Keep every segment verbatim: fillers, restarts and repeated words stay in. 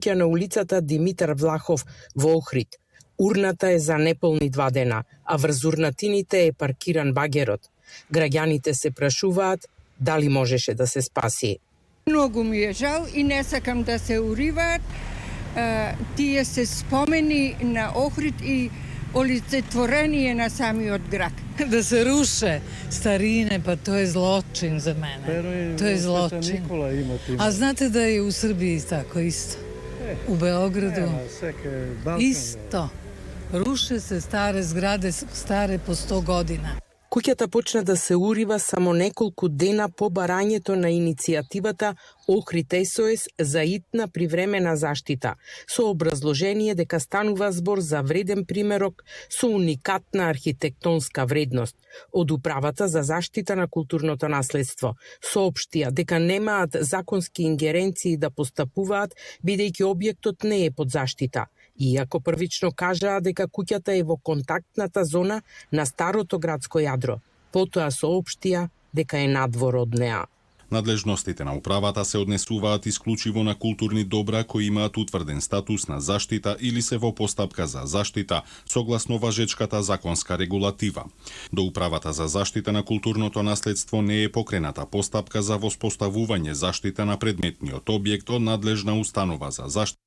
Ќе на улицата Димитар Влахов во Охрид. Урната е за неполни два дена, а врз урнатините е паркиран багерот. Граѓаните се прашуваат дали можеше да се спаси. Многу ми е жал и не сакам да се уриваат. Uh, тие се спомени на Охрид и олицетворение на самиот град. Да се руше старине, па тоа е злочин за мене. Pero тоа е злочин. А знаете да е у Србија тако исто? Е, у Београду? Е, исто. Руше се старе зграде, старе по сто година. Куќата почна да се урива само неколку дена по барањето на иницијативата Охрид Ес О Ес за итна привремена заштита, со образложение дека станува збор за вреден примерок со уникатна архитектонска вредност. Од Управата за заштита на културното наследство соопштија дека немаат законски ингеренции да постапуваат, бидејќи објектот не е под заштита. Иако првично кажаа дека куќата е во контактната зона на старото градско јадро, потоа соопштија дека е надвор од неа. Надлежностите на управата се однесуваат исклучиво на културни добра кои имаат утврден статус на заштита или се во постапка за заштита согласно важечката законска регулатива. До Управата за заштита на културното наследство не е покрената постапка за воспоставување заштита на предметниот објект од надлежна установа за заштита.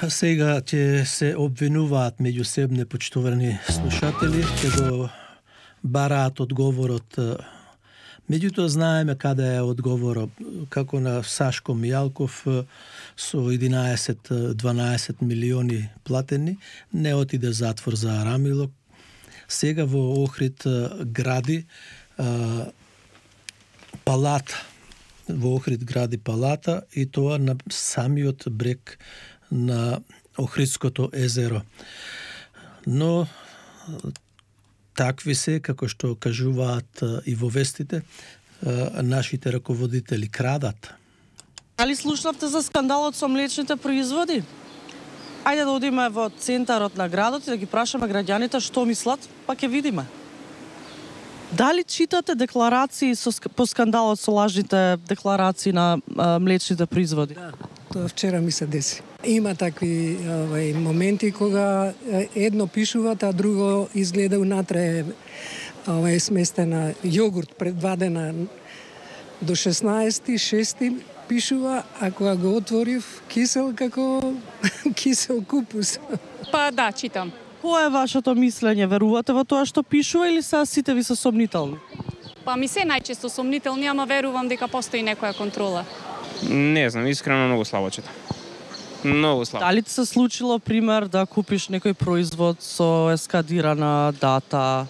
Сега ќе се обвинуваат меѓусебно почитувани слушатели, ќе го бараат одговорот. Меѓутоа знаеме каде е одговорот, како на Сашко Мијалков со единаесет-дванаесет милиони платени, не отиде затвор за Арамило. Сега во Охрид гради а, палата. Во Охрид гради палата и тоа на самиот брег на Охридското езеро. Но такви се, како што кажуваат и во вестите, нашите раководители крадат. Дали слушнавте за скандалот со млечните производи? Ајде да одиме во центарот на градот и да ги прашаме граѓаните што мислат, па ќе видиме. Дали читате декларации со, по скандалот со лажните декларации на а, млечните производи? Да, тоа вчера ми се деси. Има такви овај, моменти кога едно пишуваат, а друго изгледа унатре овај сместена јогурт пред два дена до шеснаесети шести пишува, а кога го отворив кисел како кисел купус. Па да, читам. Кој е вашето мислење? Верувате во тоа што пишува или се сите ви се сомнителни? Па ми се најчесто сомнителни, ама верувам дека постои некоја контрола. Не знам, искрено многу слабо читам. Многу слабо. Дали ти се случило пример да купиш некој производ со ескадирана дата?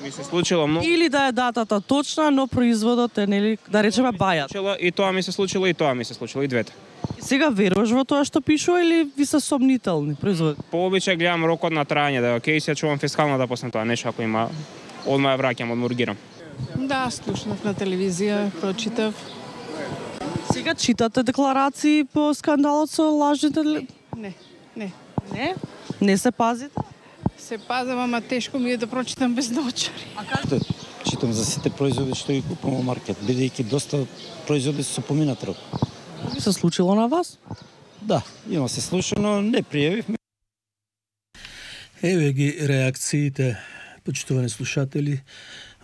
Ми се случило многу. Или да е датата точна, но производот е, нели, да речеме бајат. И тоа ми се случило, и тоа ми се случило, и двете. И сега веруваш во тоа што пишува или ви се сомнителни производи? По обичај гледам рокот на трајање, да окей, се чувам фискалната после тоа, нешто ако има, одма ја враќам, одмургирам. Да, слушнав на телевизија, прочитав. Сега читате декларации по скандалот со лажните... Не, не. Не? Не се пазите? Се пазам, ама тешко ми е да прочитам без наочари. А како? Читам за сите производи што ги купувам во маркет, бидејќи доста производи се со поминат рок. Би се случило на вас? Да, има се случило, но не пријавив. Еве ги реакциите, почитувани слушатели.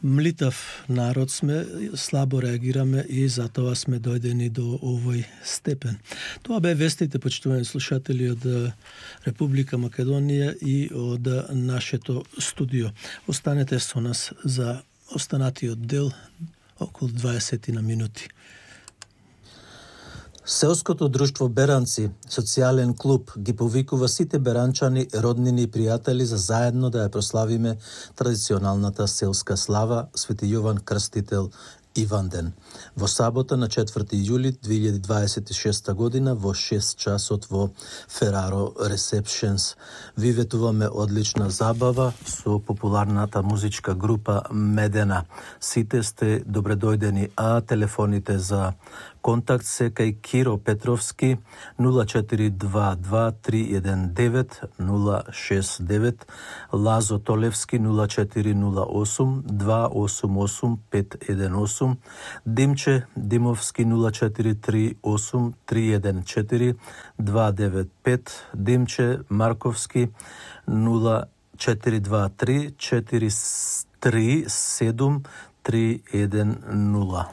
Млитав народ сме, слабо реагираме и затоа сме дојдени до овој степен. Тоа бе вестите, почитувани слушатели, од Република Македонија и од нашето студио. Останете со нас за останатиот дел, околу дваесет на минути. Селското друштво Беранци, социјален клуб, ги повикува сите беранчани, роднини и пријатели за заедно да ја прославиме традиционалната селска слава Свети Јован Крстител Иванден. Во сабота на четврти јули две илјади дваесет и шеста година во шест часот во Фераро Ресепшенс. Ви ветуваме одлична забава со популарната музичка група Медена. Сите сте добредојдени, а телефоните за Контакт се кај Киро Петровски нула четири два два три еден девет нула шест девет, Лазо Толевски нула четири нула осум два осум осум пет еден осум, Димче Димовски нула четири три осум три еден четири два девет пет, Димче Марковски нула четири два три четири три седум три еден нула.